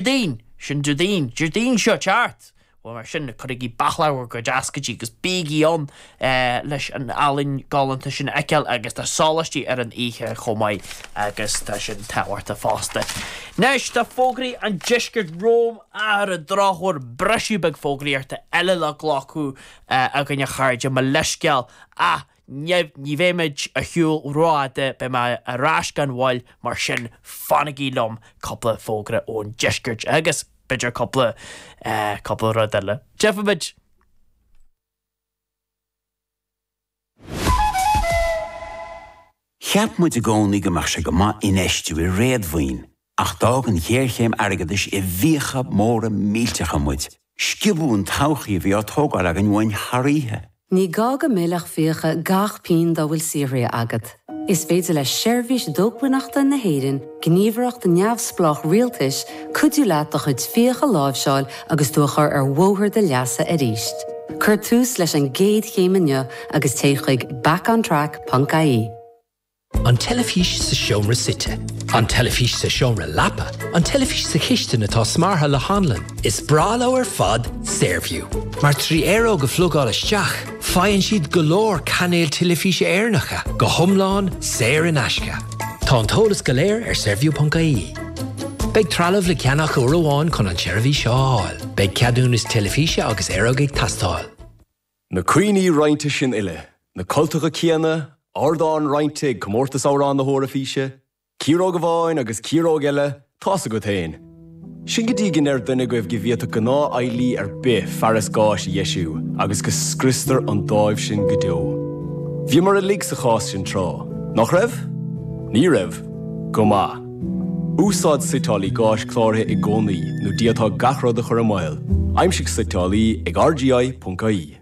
Déardaoin! Sin Déardaoin! Déardaoin seo ag teacht! Bhuel, mar sin, cuirigí bachlóg bhur gcuid ioscaidí agus bígí ann leis an ealaín galánta sin a fheiceáil agus tá sóláistí ar an oíche chomh maith agus tá sin tábhachtach fosta. Anois, tá fógraí an deiscirt romham ach ar an drochuair briseadh beag fógraíochta eile le glacadh againn a chairde, mo leithscéal ach Ní bheidh muid ar shiúl rófhada, beidh mé ar ais gan mhoill, mar sin fanaigí liom, cúpla fógra ón deisceart agus b'fhéidir cúpla, cúpla rud eile. Tchífimid! Cheap muid i gcónaí go mbeadh sé go maith infheistiú i réadmhaoin, ach d'fhág an ghéarchéim airgeadais i bhfiacha móra millteacha muid. Sciobadh an todhchaí a bhí á tógáil againn uainn thar oíche. Ní gá go millfeadh fiacha gach pingin dá bhfuil saothraithe agat. Is féidir le Seirbhís Dócmhainneachta na hÉireann, gníomhaireacht neamhspleách rialtais, cuidiú leat do chuid fiach a láimhseáil agus tú a chur ar bhóthar do leasa arís. Cuir tús leis an gcéad chéim inniu agus téigh chuig backontrack.ie. An teilifís sa seomra suite. An teilifís sa seomra leapa. An teilifís sa chistin atá smeartha le hanlann. Is breá leo ar fad Saorview. Mar trí aeróg a phlugáil isteach, faigheann siad go leor cainéil teilifíse Éireannacha, go hiomlán saor in aisce. Tá an t-eolas go léir ar saorview.ie. Beidh trealamh le ceannach uair amháin chun an tseirbhís seo a fháil. Beidh ceadúnas teilifíse agus aeróg ag teastáil. Na cuimhní roinnte sin uile, na cultacha céanna, ardán roinnte ag Comórtas Amhrán na hEoraifíse, ciaróg amháin agus ciaróg eile, tá's agat féin. Sin go dtí go ndeir duine agaibh go bhféadfadh gnáthfheighlí ar bith fearas gáis a dheisiú agus go scriostar an dáimh sin go deo. Bhíomar uilig sa chás sin tráth, nach raibh? Ní raibh? Go maith. Úsáid suiteálaí gáis cláraithe i gcónaí nó d'fhéadfá gach rud a chur i mbaol. Aimsigh suiteálaí ag rgi.ie.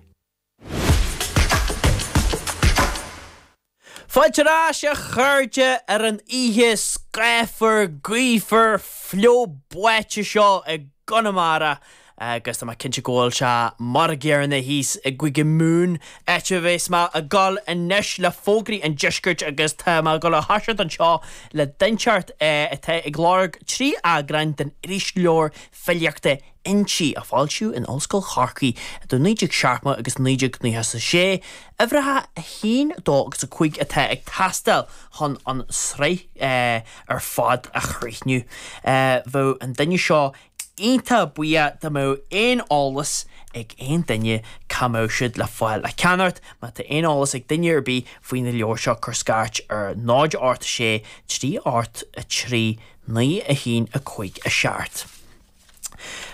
Fáilte ar ais a chairde ar an oíche scáfar, gaofar, fliuch báite seo i gConamara agus tá mé cinnte go bhfuil sé mar an gcéanna thíos i gCúige Mumhan, áit a bheas mé ag dul anois le fógraí an deiscirt agus tá mé ag dul a thoiseacht anseo le duinteacht atá ag lorg 3 eagrán den irisleabhar filíochta Innti, a foilsíodh in Ollscoil Chorcaí idir 1970 agus 1996, uimhreacha 1, 2 agus 5 atá ag teastáil chun an tsraith ar fad a chríochnú. Bheadh an duine seo iontach buíoch dá mbeadh aon eolas ag aon duine cá mbeadh siad le fáil le ceannacht. Má tá aon eolas ag duine ar bith faoi na leabhair seo cuir scairt ar 0 8 6 3 8 3 9 1 5 7.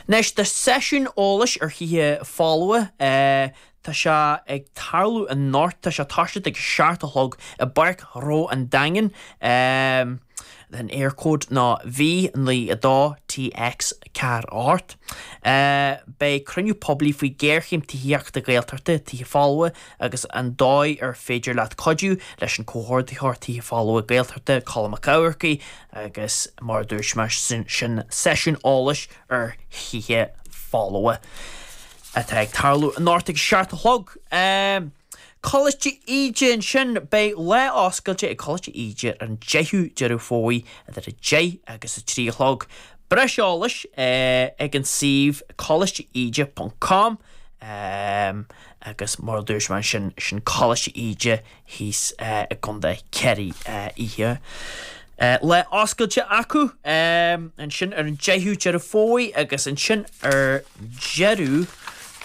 Anois tá seisiún eolais ar thithe folmha. Tá sé ag tarlú anocht, tá sé ag toiseacht ag a 7 a chlog i bPáirc Ghnó an Daingin. An Eircode ná V92 TX 4 8. Beidh cruinniú poiblí faoi ghéarchéim tithíochta Gaeltachta, tithe folmha agus an dóigh ar féidir leat cuidiú leis an Comhordaitheoir Tithe Folmha Gaeltachta, Colm Mac Eamharcaigh agus mar a dúirt mé, sin seisiún eolais ar thithe folmha. atá ag tarlú anocht ag a 7 a chlog. Coláiste Íde ansin, beidh lá oscailte ag Coláiste Íde ar an 10ú Deireadh Fómhair idir 10 agus 3 a chlog. Breis eolais ag an suíomh colaisteíde ponc com agus mar a dúirt mé ansin, sin Coláiste Íde thíos i gContae Chiarraí oíche. Lá oscailte acu ansin ar an 10ú Deireadh Fómhair agus ansin ar deireadh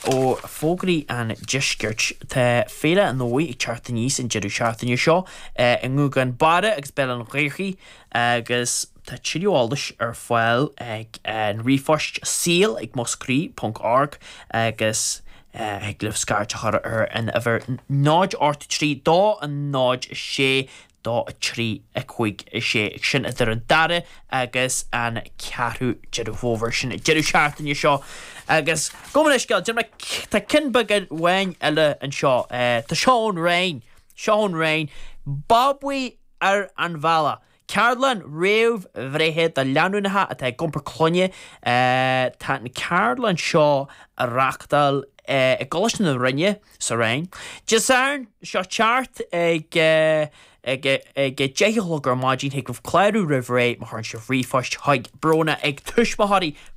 ó Fógraí an Deiscirt tá Féile an Fhómhair ag teacht aníos an deireadh seachtaine seo i nGúgán Barra agus Béal an Ghaorthaidh agus tá tuilleadh eolais ar fáil ag an ríomhphost saol ag muscraí ponc org agus Thig libh scairt a chur ar an uimhir 0 8 3 2 0 6 2 3 5 6, sin idir an dara agus an ceathrú Deireadh Fómhair, sin an deireadh seachtaine seo. Agus gabh mo leithscéal, déarfaidh mé, tá ceann beag amháin eile anseo, tá seo ón Rinn, seo ón Rinn, Babaí ar an bhealach. Ceardlann réamh-bhreithe do lánúineacha atá ag iompar clainne. Tá an ceardlann seo á reachtáil i gColáiste na Rinne sa Rinn. Dé Sathairn seo teacht ag ag ag 10 a chlog ar maidin. Thig libh clárú roimh ré má chuireann sibh ríomhphost chuig Bróna ag tuismitheoirí.